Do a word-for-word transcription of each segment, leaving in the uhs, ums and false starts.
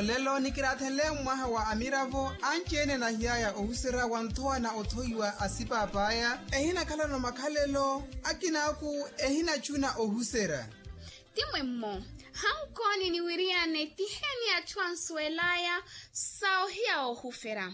Olelo nikiraathenle mmwaha wa amiravo anci-ene anahiy'aya ohuserya wa nthowa na othoiwa a sipaap'aya. Ehinakhalano makhalelo akin'aku ehinacuna ohuserya. Ti mwemmo. Hankooni niwiriyane ti heeni atthu ansuwel'aya sa ohiya oohufera.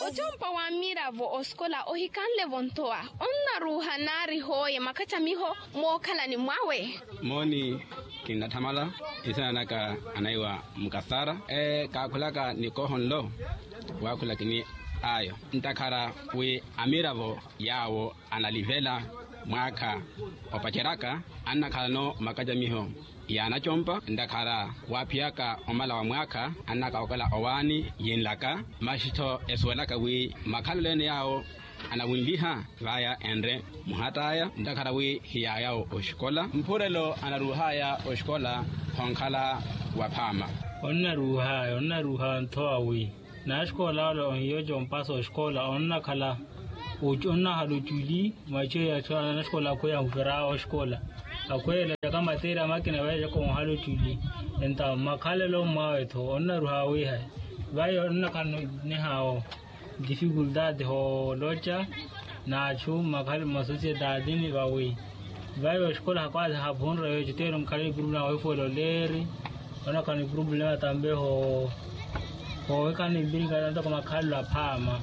Ocompa w'amiravo osikola ohikanle-vo nthowa. Onnaruuha naari hooye makhattamiho mookhalani mwawe. Mooni, kinnatthamala. Nsina naka anaiwa mukasara. Kaakhulaka nikoho nlo waakhula kini ayo ntakhara wi amiravo yaawo analivela mwaakha opaceryaka annakhalano makacamiho y'anacompa ntakhara waaphiyaka omala wa mwaakha annaka okala owaani yinlaka. Masi-tho esuwelaka wi makhalelo ene yaawo anawinliha vaya enre muhatt'aya ntakhara wi hiyaayawo oxikola mphurelo anaruuh'aya oxikola. Khonkhala waphaama. Onnaruuh'aya onnaruuha nthowa wi naxikola ole ohiya ocompasa oxikola onnakhala onnakhala oculi. Mwaci oyo anaxikola akhweya ahufer'awe oxikola akhweya elacaka matéria makina valecaka onhala oculi. Entawo makhalelo mwawe-tho onnaruuha wiihayi. Vayi onnakhala nihaawo difikultati hooloca n'achu masosiyetati ni vawi. Vayi oxikola hakwaaza haphunre weeco teero nkhala ni purupulema weefuwela oleeri. Onakhala ni purupulema tambe hoohikhala ni mpirinka ntoko makhalelo aphaama.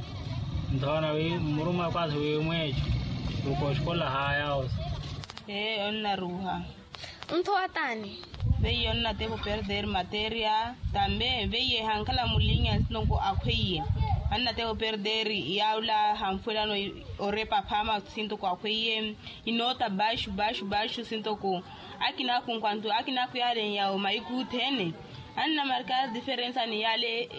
Nthowa nawi mmuruma akwaaza weemweeco. Uko oxikola haayawosa. Ee onnaruuha. Nthowa t'ani? Veiye onnatepa operder materia tambe veiye hankhala mulinya sintoko akhweiye. Annatepa operder yaula hanfuwelano orepa aphama sintoko akhweiye. Inoota baxu baxu baxu sintoko akinaaku nkwantu akinaaku yaale nyawo mahiku othene. Annamarkar diferensa ni yaale.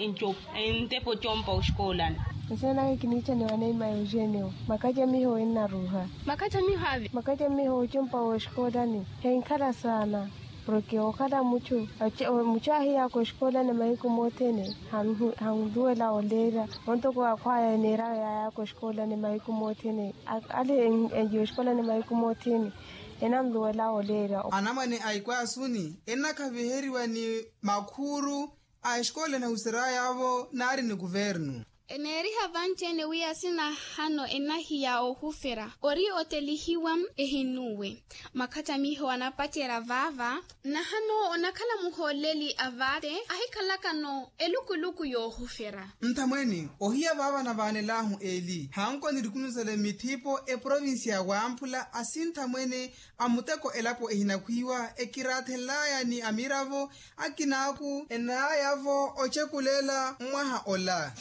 Ntepa ocompa oxikoolani. Nsenaka kiniichaniwa neima eugenio. Makacamiho ennaruuha. Makacamiho ave? Makacamiho ocompa w'oxikoolani henkhala saana. Porke okhala muchu muchu ahiyaka oxikoolani mahiku mothene. Hanluwela oleerya ontoko akhwaya eneeraya yaayaka oxikoolani mahiku mothene. Ale enjiwa oxikoolani mahiku mothene. Enanluwela oleerya. Anamwane a ikwaasuni ennakhaviheriwa ni makhuuru a exikoolani ahusery'aya-vo naari ni kuvernu. Eneeriha vanci-ene wi asinahano enahiya oohufera ori otelihiwa. Ehinuwe makhattamiho anapacerya vaava. Nahano onakhala muhooleli a vaate ahikhalakano elukuluku yoohufera. Nthamwene ohiya vaava navaanel'ahu eli hanko nirikunusele mithipo eprovincia ya wamphula asinthamwene a muteko elapo ehinakhwiiwa ekiraathenl'aya ni amiravo akinaaku enaaya-vo ocekulela mmwaha ola.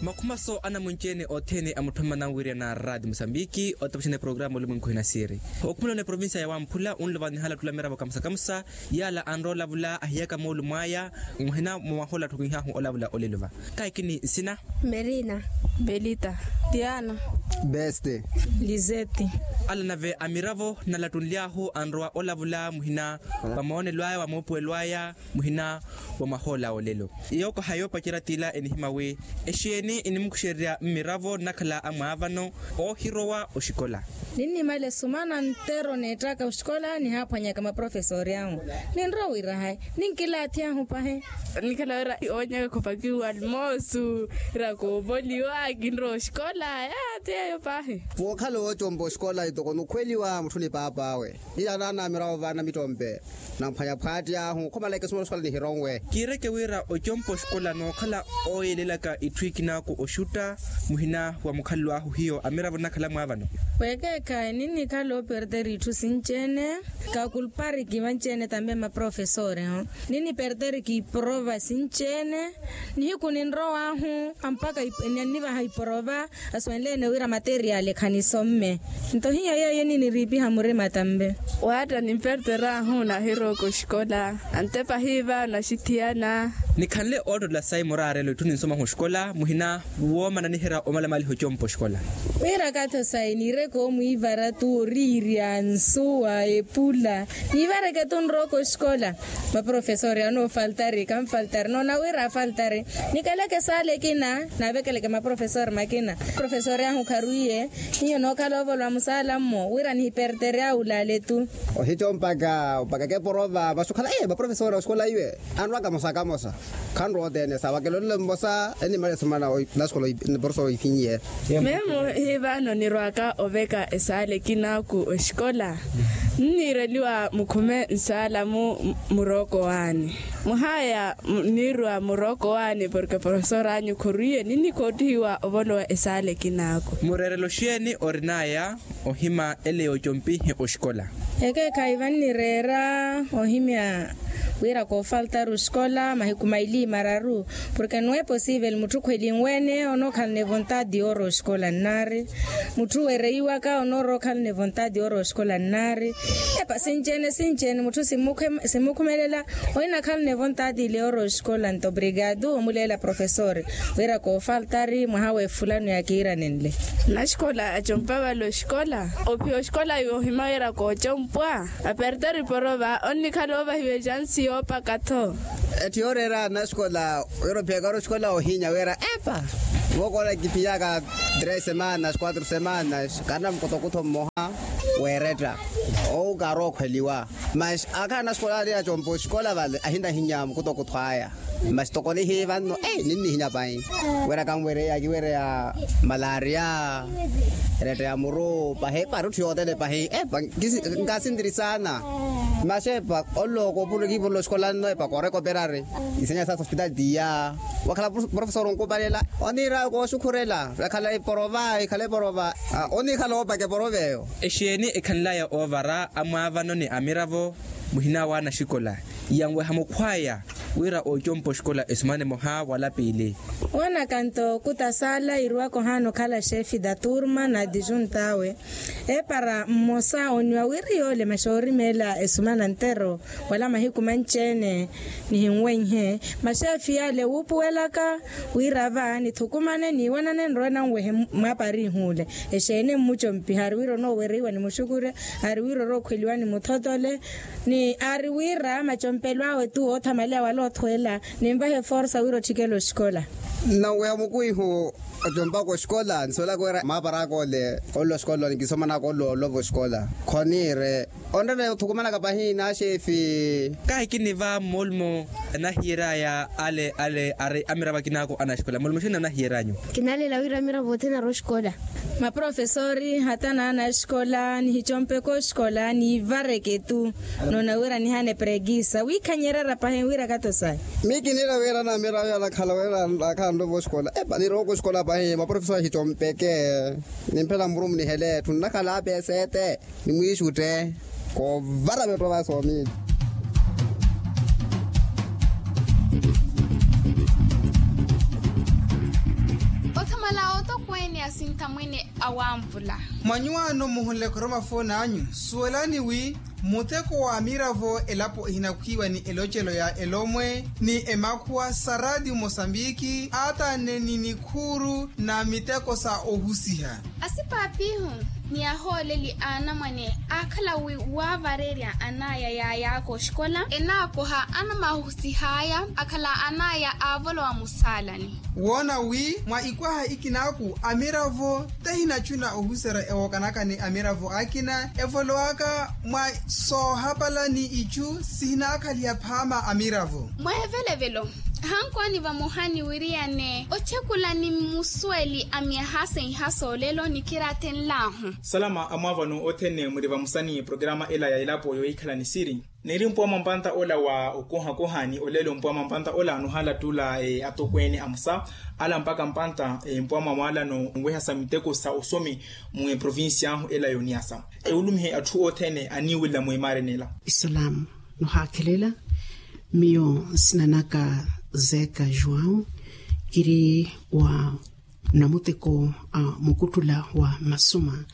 Makhumaso anamwinci-ene othene a mutthu mmananwirya na raati musambiki otapuxana eprogramu olumwenku hinasiri. Okhumulana eprovincia ya wamphula unlova nihala ottula miravo kamusa kamusa. Yaala anrowa olavula ahiyaka moolumo aya muhina mwa mahola atthu kinhaahu olavula olelo va. Kaikini nsina? Merina. Belita. Tiana. Beste. Lizeti. Ala nave amiravo nalattunly'ahu anrowa olavula muhina wa moonelo aya wa moopuwelo aya muhina wa mahola olelo. Yookoha yoopacerya t'ila enihimya wi exeeni enimukuxererya mmiravo nnakhala amwaavano oohirowa oxikola. Ninnimale sumana nttero neettaka oxikola nihaaphwanyaka maprofesori ahu. Ninrowa wira hayi ninkilaathi ahu pahi. Nikhala wira oonyaka khopakiwa almoosu ira koopoliwa kinrowa oxikola aya. Ti yeeyo pahi. Vookhala oocompa oxikola itoko nukhweliwa mutthu ni paap'awe. Hiya naana mirawo vaana mittompe. Namphwanya phwaati ahu khomala ekesumala oxikola nihironwe. Kiireke wira ocompa oxikola nookhala ooyelelaka itthu ikinaaku oxutta muhina wa mukhalelo ahu hiyo amiravo nnakhala mwaavano. Weekeekhayi ninnikhala operder itthu sinci-ene. Kakulpariki vanci-ene tambe maprofesori. Ninniperder kiiprova sinci-ene. Nihiku ninrow'ahu ampaka ninnivaha iprova. Aswenle-ene wira materiali khanisomme. Nto hiyo yeeyo niniriipiha murima tambe. Waatta nimperder'ahu nahirowa oxikola. Antepa hiiva naxithiyana. Nikhanle oottolela sayi muraarelo itthu ninsomaha oxikola muhina woomana niherya omalamaliha ocompa oxikola. Wira katho sayi niireke omwiivara tu oriirya nsuwa epula. Niivareke tu nrooko oxikola. Maprofesori anoofaltari kanfaltari noona wira afaltari. Nikeleke esaala ekina naavekeleke maprofesori makina. Profesori ahu kharwiiye hiyo nookhala ovolwa musaala mmo wira nihiperterya wulaale tu. Ohicompaka opakaka eporova vaxukhala maprofesori oxikola iwe anrwa kamosa kamosa. Khanrowa othene sa wakelolelo mmosa enimalela esumana naxikola. Niporofesori oifinyiye. Memo hivano nirwaka oveka esaala ekinaaku oxikola. Nniireliwa mukhume nsaala mu murooko waani. Muhaya niirwa murooko waani porke profesori anyu khorwiiye ninikoottihiwa ovolowa esaala ekinaaku. Mureerelo xeeni orinaya ohima ele yoocompihi oxikola? Ekeekhayi vannireera ohimya wira koofaltari oxikola mahiku maili mararu. Porke no eposivel mutthu khwelinwene onookhalana evontadi yoorowa oxikola nnaari. Mutthu wereiwaka onoorowa okhalana evontadi yoorowa oxikola nnaari. Epa sinci-ene sinci-ene mutthu simmukhumelela. Ohinakhalana evontadi ile yoorowa oxikola nto obrigadu omuleela profesori wira koofaltari mwaha wefulano yakiiranenle. Naxikola acompa vale oxikola ophiya oxikola yoohima wira koocompwa. Aperteri porova onnikhala oovahiwa exansi yoopaka-tho. Etthu yooreera naxikola wira ophiyaka ori oxikola ohinya wira epa. Vookoona kiphiyaka tres semanas quatro semanas karina mukotokutho mmoha weeretta. Owu kaarookhweliwa. Masi akhala naxikola ale acompa oxikola vale ahinahinya mukutokutho aya. Masi toko nihiiva nno ninnihinya pahi. Wira kanwereya kiwereya malaria. Eretta ya muru pahi pari etthu yothene pahi epa. Nkasintirisana. Masi epa oloko opuro kiipuro loxikola nno epa kooreka operari. Isenya sa sospitali tiya. Wakhala profesori onkupalela oniira kooxukhurela. Ekhala eporova ekhala eporova. Oniikhala oopaka eporova eyo. Exeeni ekhanlaya oovara amwaavano ni amiravo muhina wa anaxikola yanweha mukhwaya wira oocompa oxikola esumana emoha wala piili. Woonaka nto kuta saala iiriwaka ohaana okhala xefe da turma na adijunta awe. Eepara mmosa oniwa wira yoole maxoorimeela esumana ntero wala mahiku manci-ene. Nihinwenhe maxeefi yaale wuupuwelaka wira va nithukumane niiwanane nrowe nanwehe mwaapari ihuule. Exeeni mmucompiha ari wira onoowereiwa ni muxukurya ari wira orookhweliwa ni muthotole. Ni ari wira macompelo awe tu oothamaleya wala othweela. Ninvahe forsa wira otthikela oxikola. Nnanweha mukwihu ocompaka oxikola nisuwelaka wira mwaapari aka ole olowa oxikola nikisomanaka olowa olova oxikola. Khoniire onrene othukumanaka pahi n'axeefi. Kahi kiniva mmoolumo anahiyeraya ale ale ari amiravo akinako anaxikola mmoolumo xeeni anahiyeryanyu? Kinalela wira amiravo othene ari oxikola. Maprofesori hata n'anaxikola nihicompeke oxikola niivareke tu. Noona wira nihaana eprekisa wiikhanyererya pahi wira kato sayi. Miyo kiniira wira namiravo anakhala wira akhala nlova oxikola epa nirooko oxikola pahi maprofesori ahicompeke. Nimphela muru munihele etthu nnakhala apesete. Nimwiixutte koovara metto vasoomini. Othamala otokweene asinthamwene awanvula. Mwa nyuwaano muhunle khoroma fooni anyu suwelani wi muteko wa amiravo elapo ehinakhwiiwa ni elocelo ya elomwe ni emakhuwa sa raatiyo mosambiki aatanne ni nikhuuru na miteko sa ohusiha. Asipaapihu ni ahooleli a anamwane aakhala wi waavarerya anaya yaayaka oxikola enaakoha anamahusihaya akhala anaya aavolowa musaalani. Woona wi mwa ikwaha ikinaaku amiravo tahinacuna ohuserya ewookanaka ni amiravo akina evolowaka mwa soohapala ni icu sihinaakhaliha phaama amiravo. Mweevelevelo hankwaani vamoha ni wiriyane ochekulani mmusuweli a myaha seiha soolelo nikiraathenlahu. Salama amwaavano othene muri vamusani programa ela ya elapo yohikhala ni siri. Niri mpuwa mwa mpanta ola wa okuhakuha ni olelo mpuwa mwa mpanta ola anuhala tula atokweene amusa ala mpaka mpanta mpuwa mwa mwaalano nweha sa miteko sa osomi mu eprovincia ahu ela yoniasa. Ewulumihe atthu othene aniiwilla mwimaareni ela. Isalamu nohaakhelela. Miyo nsina naka zeka juwau kiri wa namuteko a mukuttula wa masoma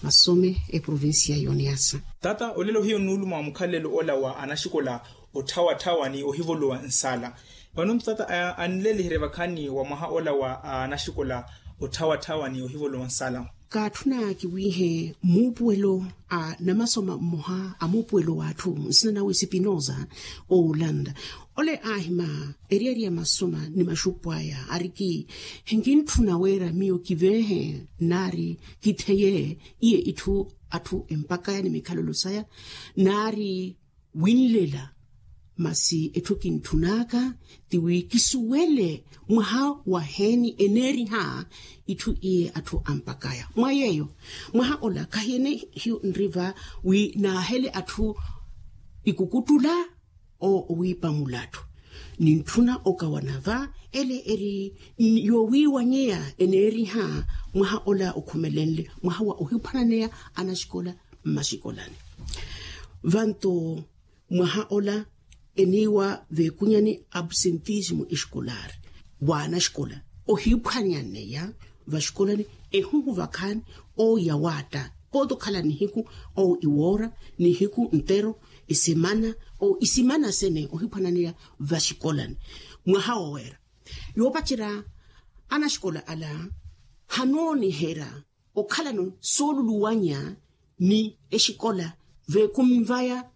masome eprovincia yoniasa. Tata olelo hiyo nnuuluma wa mukhalelo ola wa anaxikola otthawatthawa ni ohivolowa nsaala. Vano ntata anleliherye vakhani wa mwaha ola wa anaxikola otthawatthawa ni ohivolowa nsala. Kaatthuna kiwiihe muupuwelo a namasoma mmoha a muupuwelo w'atthu nsina nawe sipinosa, oolanda ole aahima eriyari ya masoma ni maxupu aya ariki, hinkintthuna wira miyo kiveehe naari kitheye iye itthu atthu empakaya ni mikhalelo saya naari winlela. Masi etthu kintthun'aka ti wi kisuwele mwaha waheeni eneeriha itthu iye atthu ampakaya mwa yeeyo. Mwaha ola khahiene hiyo nriva wi naahele atthu ikukuttula owiipa mulattu. Nintthuna okawana va ele eri yoowiiwanyeya eneeriha mwaha ola okhumelenle mwaha wa ohiphwananeya anaxikola mmaxikolani. Vanto mwaha ola eniiwa veekunyani absentismo escolar w'anaxikola ohiphwanyaneya vaxikolani ehuhu vakhaani. Owo yawaatta pooti okhala nihiku owo iwoora nihiku ntero isimana owo isimana sene ohiphwananeya vaxikolani mwaha woweera yoopacerya anaxikola ala hanooniherya okhalano sooluluwanya ni exikola veekunvaya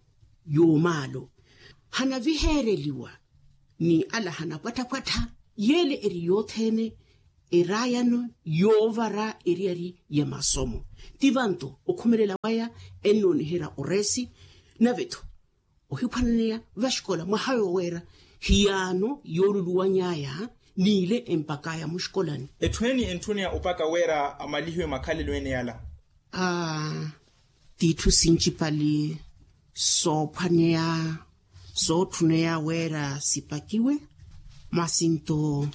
yoomaalo hanaviheereliwa ni ala hanapwattha-pwattha yeele eri yothene eraayano yoovara eriyari ya masomo. Ti vanto okhumelela waya ennooniherya oreesi nave-tho ohiphwananeya vaxikola mwaha yooweera hiyaano yooluluwany'aya n'ile empak'aya muxikolani. Etthu eni entthuneya opaka wira amalihiwe makhalelo ene yala. Aa titthu sincipali soophwaneya sootthuneya wira sipakiwe masi nto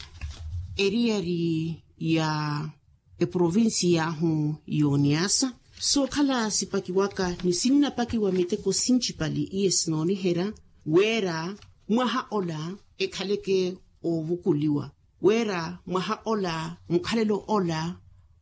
eriyari ya eprovincia ahu y'oniasa sookhala sipakiwaka ni sinnapakiwa miteko sincipali iye sinooniherya wira mwaha ola ekhaleke oovukuliwa wira mwaha ola mukhalelo ola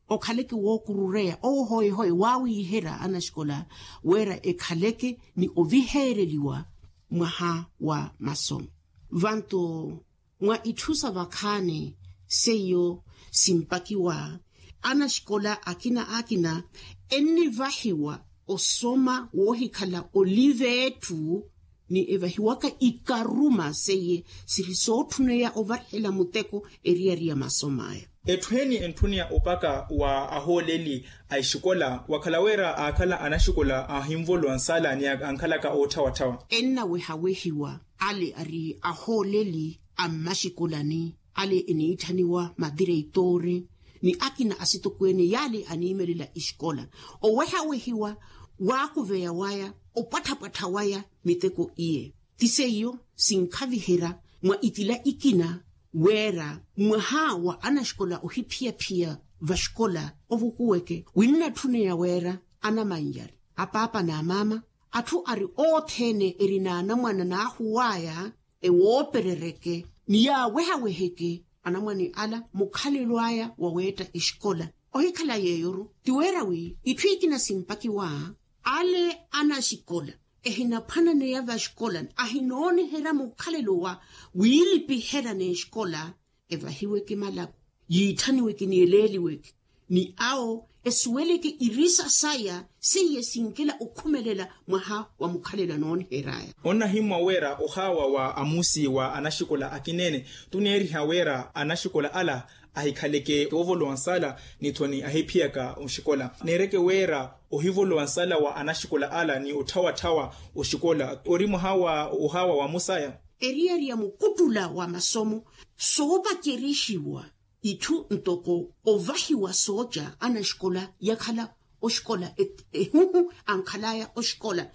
okhaleke wookurureya owo hoye-hoye waawiiherya anaxikola wira ekhaleke ni oviheereliwa mwaha wa masomo. Vanto mwa itthu sa vakhaani seiyo simpakiwa anaxikola akina akina ennivahiwa osoma woohikhala olive etthu ni evahiwaka ikaruma seiye siri sootthuneya ovarihela muteko eriyari ya masom'aya. Etthu eni entthuneya opaka wa ahooleli a exikola wakhala wira aakhala anaxikola ahinvolowa nsala ni ankhalaka ootthawatthawa ennawehawehiwa ale ari ahooleli a mmaxikolani ale eniitthaniwa madireitoori ni akina asitokweene yale aniimelela exikola owehawehiwa waakuveya waya opwattha-pwattha waya miteko iye ti seiyo sinkhaviherya mwa itila ikina wira mwaha wa anaxikola ohiphiyaphiya vaxikola ovukuweke winnatthuneya wira anamannyari apaapa n'amaama atthu ari othene eri n'anamwana n'ahuw'aya ewooperereke ni yaawehaweheke anamwane ala mukhalelo aya waweetta exikola ohikhala yeeyo-ru ti wira wi itthu ikina simpakiwa ale anaxikola ehinaphwananeya vaxikola ahinooniherya mukhalelo wa wiilipiherya n'exikola evahiweke malako yiitthaniweke ni eleeliweke ni awo esuweleke irisa saya seiye sinkela okhumelela mwaha wa mukhalelo anoonihery'aya. Onnahimmwa wira ohaawa wa amusi wa anaxikola akineene tuneeriha wira anaxikola ala ahikhaleke oovolowa nsala ni-tho ni ahiphiyaka oxikola neereke wira ohivolowa nsala wa anaxikola ala ni otthawatthawa oxikola ori mwaha wa ohaawa wa musaya eriyari ya mukuttula wa masomo soopacerixiwa itthu ntoko ovahiwa sooca anaxikola yakhala oxikola ehuhu ankhal'aya oxikola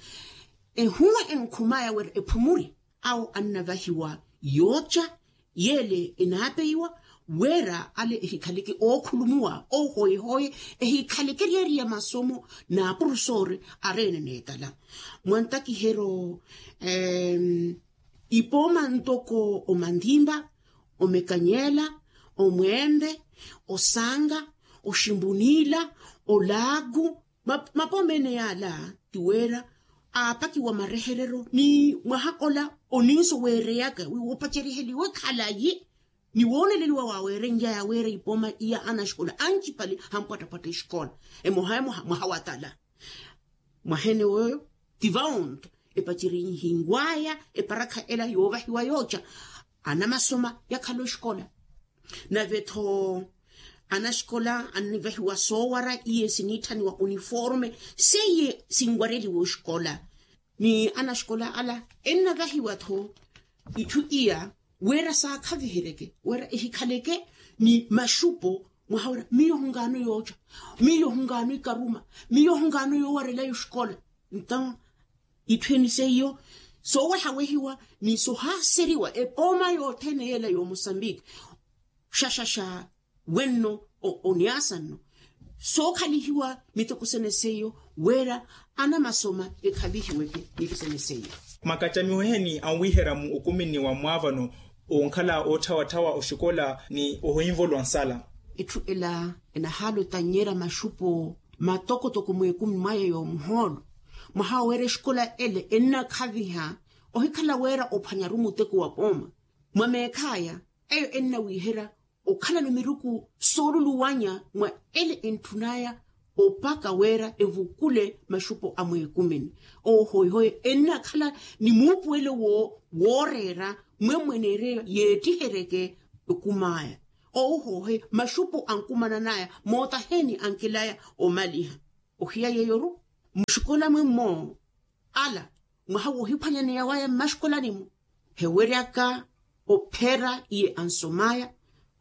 ehuhu enkhum'aya wira ephumuri awo annavahiwa yooca yeele enaapeiwa wira ale ehikhaleke ookhulumuwa ohoyehoye ehikhaleke eriyari ya masomo n'apurusoori areene n'etala mwa ntakiheryo ipooma ntoko omandimba omekanyela omwende osanga oximbunila olaaku mapooma ene yaala ti wira aapakiwa mareherero ni mwaha ola oninso weereyaka wi woopaceriheliwe khalayi ni wooneleliwa waaweerenlyaya weera ipooma iya anaxikola ancipale hampwattapwatta exikola emoha emoha mwaha watala. Mwaheene wooyo ti vaonto epacerihinwaya eparakha ela yoovahiwa yooca anamasoma yakhala oxikola. Nave-tho anaxikola annivahiwa soowara iye siniitthaniwa uniforme seiye sinwareliwa oxikola. Ni anaxikola ala ennavahiwa-tho itthu iya wira saakhaviheryeke wira ehikhaleke ni maxupo mwaha wira miyo hunkaano yooca, miyo hunkaano ikaruma, miyo hunkaano yoowarelaya oxikola. Nto itthu eni seiyo soowehawehiwa ni sohaaseriwa epooma yothene yeela yoomosambiki xaxaxa wenno oniasa nno sookhalihiwa miteko sene seiyo wira anamasoma ekhavihiweke niteko sene seiyo. Makattamiho eheni anwiihera mu okuminni wa mwaavano onkhala ootthawatthawa oxikola ni ohinvolo ansala. Itthu ela enahaala otannyerya maxupo matokotoko mweekumi mwaya yoomuhoolo mwaha wira exikola ele ennakhaviha ohikhala wira ophwanyaru muteko wa pooma mwa meekhaya eyo ennawiiherya okhalano miruku sooluluwanya mwa ele entthunaya opaka wira evukule maxupo a mweekumini. Oohoihoye ennakhala ni muupuwelo wooreera mwemmweneerye yeettiheryeke okumaya. Oohoihoye maxupo ankumananaya mootaheni ankilaya omaliha ohiya yeeyoru muxikola mwemmo ala mwaha woohiphwanyaneya waya mmaxikolani-mo heweryaka ophera iye ansomaya.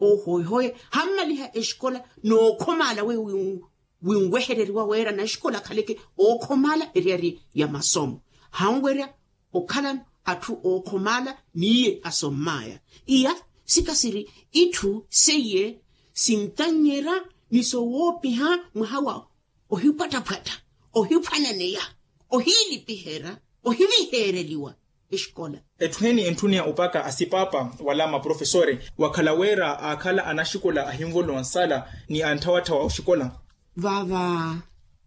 Oohoihoye hammaliha exikola nookhomaala weyo winwehereriwa wira naxikola akhaleke ookhomaala eryari ya masomo hanwerya okhalano atthu ookhomaala n'iye asommaya. Iya sikasiri itthu seiye sintannyerya ni sowoopiha mwaha wa ohipwattaphwatta ohiphwananeya ohiilipiherya ohiviheereliwa exikola. Etthu heni entthuneya opaka asipaapa wala maprofesore wakhala wira aakhala anaxikola ahinvolowa nsala ni antthawaththawa oxikola. Vaava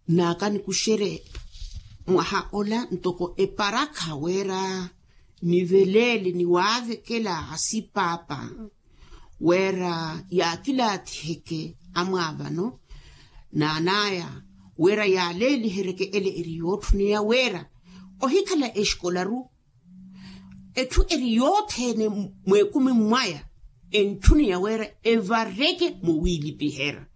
naaka nikuxerye mwaha ola ntoko eparakha wira niveleele ni waavekela asipaapa wira yaakilaathiheke amwaavano n'anaya wira yaaleeliheryeke ele eri yootthuniya wira ohikhala exikolaru etthu eri yothene mw'ekumi mwaya entthuniya wira evareke mowiilipiherya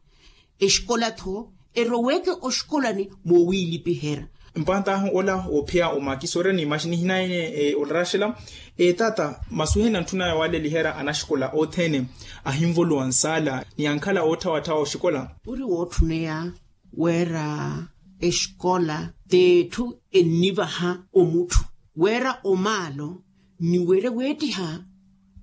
exikola-tho eroweke oxikolani mowiilipiherya. Mpantahu ola woophiya omakisoorya ni maxinihinaene olaraxela etata masuheni antthunaya waaleliherya anaxikola othene ahinvolowa nsala ni ankhala ootthawaththawa oxikola. Ori wootthuniya wira exikola t'etthu ennivaha omutthu wira omaalo ni wira weettiha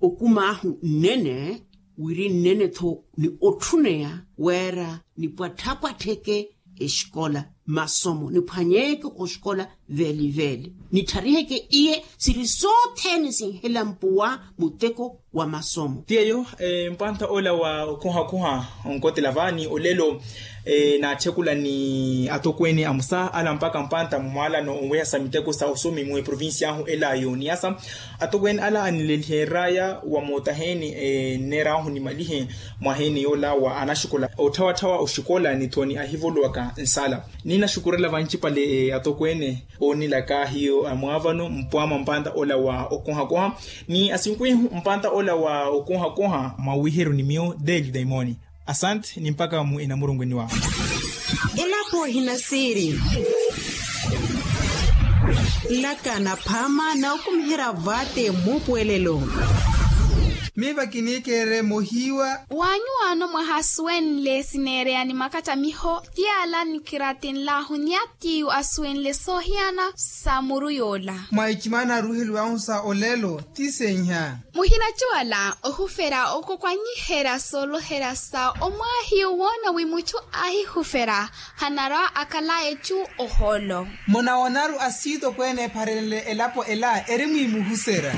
okum'ahu nnene wiri nnene-tho ni otthuneya wira nipwatthapwattheke exikola masomo niphwanyeeke oxikola veeliveeli nithariheke iye siri sothene sinhela mpuwa muteko wa masomo. Ti eyo mpantha ola wa okhuhakhuha onkotela vaani olelo naatthekula ni atokweene amusa ala mpakha mpantha mumwaalano onwehasa miteko sa osomi mwe provincia ahu ela yooniyasa atokweene ala anileliheraya wa mootaheeni nneer'ahu nimalihe mwaheeni yoola wa anaxikola otthawaththawa oxikola ni thoni ahivolowaka nsala. Ninaxukurela vancipale atokweene oonilaka hiyo amwaavano mpwama mpanta ola wa okohakoha ni asinkwihu mpanta ola wa okohakoha mwa wiiheru ni miyo deli daimoni. Asante ni mpaka mu enamurungweni wahu. Elapo ehinasiiri laka naphaama na okumiherya vate muupuwelelo. Miiva kiniikeerye mohiiwa. Waanyuwaano mwaha asuwenle sineereya ni makattamiho ti ala nikiratinlahu ni atiiyu asuwenle soohiyana sa muru yoola. Mwa icimana aruuheliwahu sa olelo ti seiha. Muhinacuwala ohuferya okokwanyiherya sooloherya sa omwaahiyu woona wi mutthu aahihuferya hanarwa akalaye cu ohoolo. Munawoonaru asiitokweene epharenle elapo ela eri mwiimuhuserya.